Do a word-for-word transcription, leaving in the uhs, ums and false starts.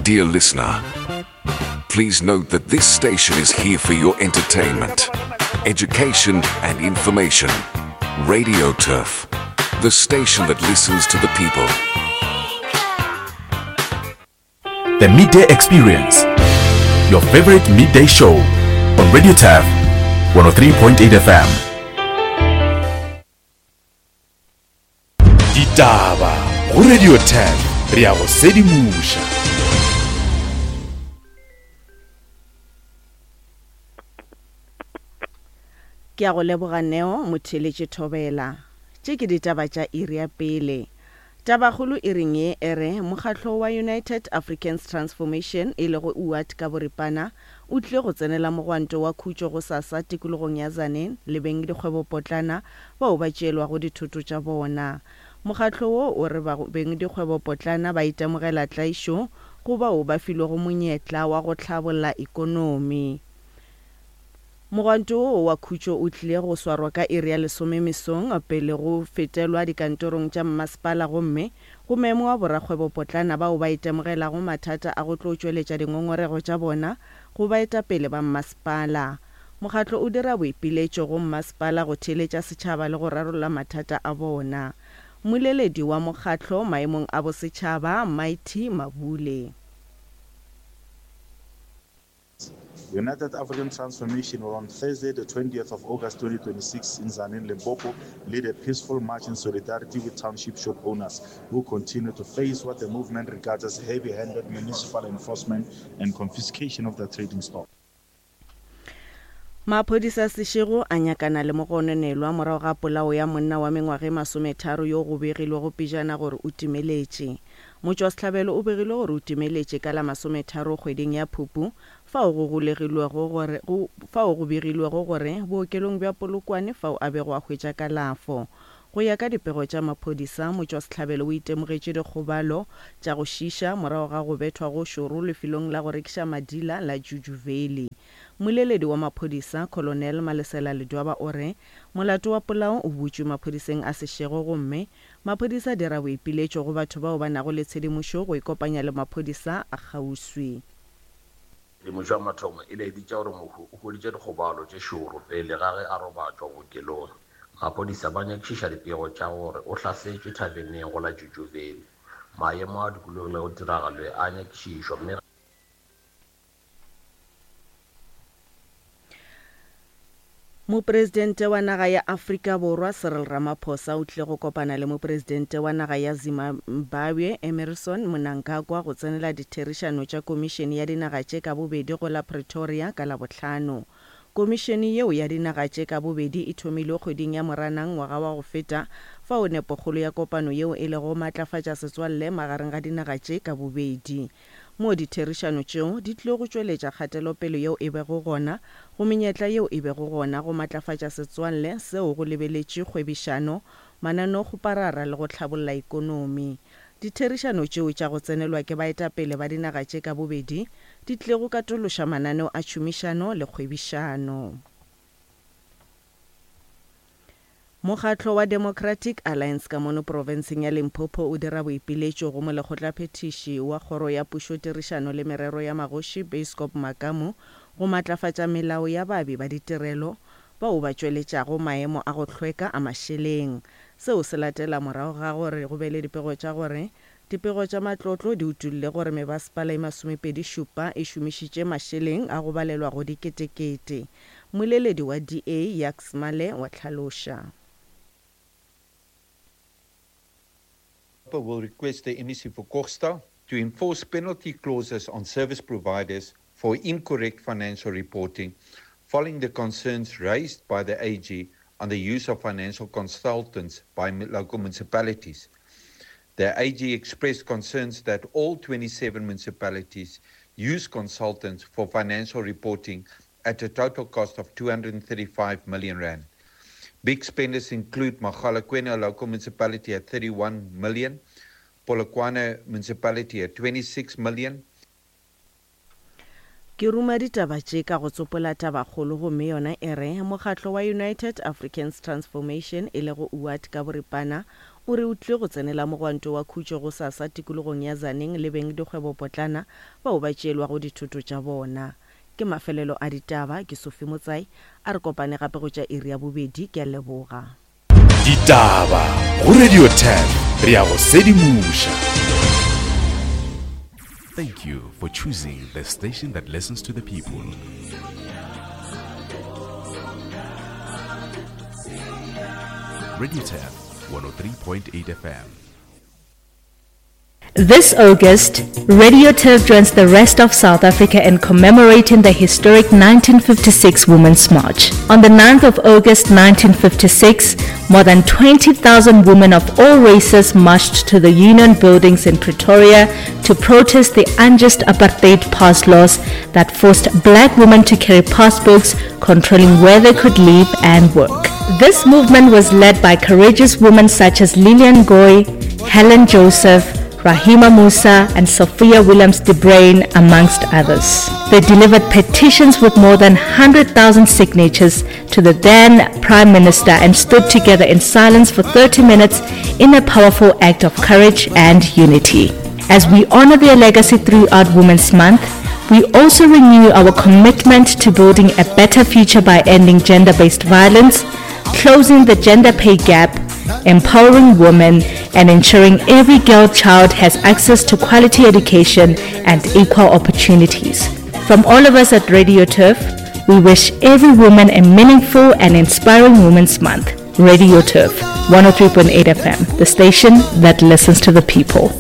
Dear listener, please note that this station is here for your entertainment, education, and information. Radio Turf, the station that listens to the people. The Midday Experience, your favorite midday show on Radio Turf one oh three point eight F M. Ditaba go Radio Turf, re ya go sedimoša. Ke a go leboga Neo motheletše Thobela. Tše ke ditaba tša iri ya pele. Tabakgolo e reng ye e re mokgatlo wa United Africans Transformation e lego U A T ka boripana o tlile go tsenela mogwanto wa khutšo go sasa tikologong ya Tzaneen le beng dikgwebopotlana bao ba tšeelwago dithoto tša bona. Mokgatlo wo o re beng dikgwebopotlana ba itemogela tlaišo go bao ba filwego monyetla wa go hlabolla ikonomi. Mogwanto wo wa khutšo o tlile go swarwa ka iri ya lesome mesong pele go fetelwa dikantorong tša mmasepala gomme go mengwa borakgwebopotlana bao ba itemogelago mathata a go tlo tšweletša dingongorego tša bona go baetapele ba mmasepala. Mokgatlo o dira boipiletšo go mmasepala go theeletša setšhaba le go rarolla mathata a bona. Mmoleledi wa mokgatlo maemong a bosetšhaba Mighty Mabule. United African Transformation will on Thursday, the twentieth of August twenty twenty-six in Tzaneen, Limpopo, lead a peaceful march in solidarity with township shop owners who continue to face what the movement regards as heavy-handed municipal enforcement and confiscation of their trading stock. Maphodisa Seshego a nyakana le mogononelwa morago ga polao ya monna wa mengwaga e masometharo yo go begilwego pejana gore o timeletše. Motšwasehlabelo o begilwe gore o timeletše ka la masometharo kgweding ya Phupu fao go golegilwego gore go fao go begilwego gore bookelong bja Polokwane fao a bego a hwetša kalafo. Go ya ka dipego tša maphodisa, motšwasehlabelo o itemogetše dikgobalo tša go šiša morago ga go bethwa go šoro lefelong la go rekiša madila la Juju Valley. Mmoleledi wa maphodisa Colonel Malesela Ledwaba o re molato wa polao o butšwe maphodiseng a Seshego gomme maphodisa a dira boipiletšo go batho bao ba nago le tshedimošo go ikopanya le maphodisa a kgauswi. Tshedimošo ya mathomo e laeditše gore mohu o hweditše dikgobalo tše šoro pele ga ge a robatšwa bookelong. Maphodisa ba nyakišiša dipego tša gore o hlasetšwe thaveneng go la Juju Valley. Maemo a dikologilego tiragalo a nyakišišwa mme Mopresidente wa naga ya Afrika Borwa Cyril Ramaphosa o tlile go kopana le mopresidente wa naga ya Zimbabwe Emmerson Mnangagwa go tsenela ditherišano tša komišene ya dinaga tše ka bobedi go la Pretoria ka Labohlano. Komišene yeo ya dinaga tše ka bobedi e thomilwe kgweding ya Moranang ngwaga wa go feta fao nepokgolo ya kopano yeo e lego matlafatša setswalle magareng ga dinaga tše ka bobedi. Mo ditherišano tšeo di tlile go tšweletša kgatelopele yeo e bego gona go menyetla yeo e bego gona go matlafatša setswalle seo go lebeletše kgwebišano, mananeokgoparara le go hlabolla ikonomi. Ditherišano tšeo tša go tsenelwa ke baetapele ba dinaga tše ka bobedi di tlile go katološa mananeo a tšhomišano le kgwebišano. Mokgatlo wa Democratic Alliance ka mono profenseng ya Limpopo o dira boipiletšo go molekgotlaphethiši wa kgoro ya pušo tirišano le merero ya magoši Basecop Makamu go matlafatša melao ya baabi ba ditirelo bao ba tšweletšago maemo a go hlweka a mašeleng. Seo se latela morago ga gore go be le dipego tša gore dipego tša matlotlo di utolle gore mebasepala e masomepedi šupa e šomišitše mašeleng a go balelwa go diketekete. Mmoleledi wa D A Jacques Male wa hlaloša. Will request the M E C for Kokstad to enforce penalty clauses on service providers for incorrect financial reporting following the concerns raised by the A G on the use of financial consultants by local municipalities. The A G expressed concerns that all twenty-seven municipalities use consultants for financial reporting at a total cost of two hundred thirty-five million rand. Big spenders include Mogalakwena local municipality at thirty-one million, Polokwane municipality at twenty-six million. Ke ruma ditaba tše ka go tsopola tabakgolo gomme yona e re mokgatlo wa United Africans Transformation e lego U A T ka boripana o re o tlile go tsenela mogwanto wa khutšo gosasa tikologong ya Tzaneen le beng dikgwebopotlana bao ba tšeelwago dithoto tša bona. Ke mafelelo a ditaba, ke Sophie Motsai, a re kopane gape go tša iri ya bobedi, ke a leboga. Ditaba go Radio Turf, re a go sedimoša. Thank you for choosing the station that listens to the people. Radio Turf one oh three point eight F M. This August, Radio Turf joins the rest of South Africa in commemorating the historic nineteen fifty-six Women's March. On the ninth of August nineteen fifty-six, more than twenty thousand women of all races marched to the Union Buildings in Pretoria to protest the unjust apartheid pass laws that forced black women to carry passbooks controlling where they could live and work. This movement was led by courageous women such as Lilian Goy, Helen Joseph, Rahima Moosa and Sophia Williams de Bruyn, amongst others. They delivered petitions with more than hundred thousand signatures to the then Prime Minister and stood together in silence for thirty minutes in a powerful act of courage and unity. As we honor their legacy throughout Women's Month, we also renew our commitment to building a better future by ending gender-based violence, closing the gender pay gap, empowering women, and ensuring every girl child has access to quality education and equal opportunities. From all of us at Radio Turf, we wish every woman a meaningful and inspiring Women's Month. Radio Turf, one oh three point eight F M, the station that listens to the people.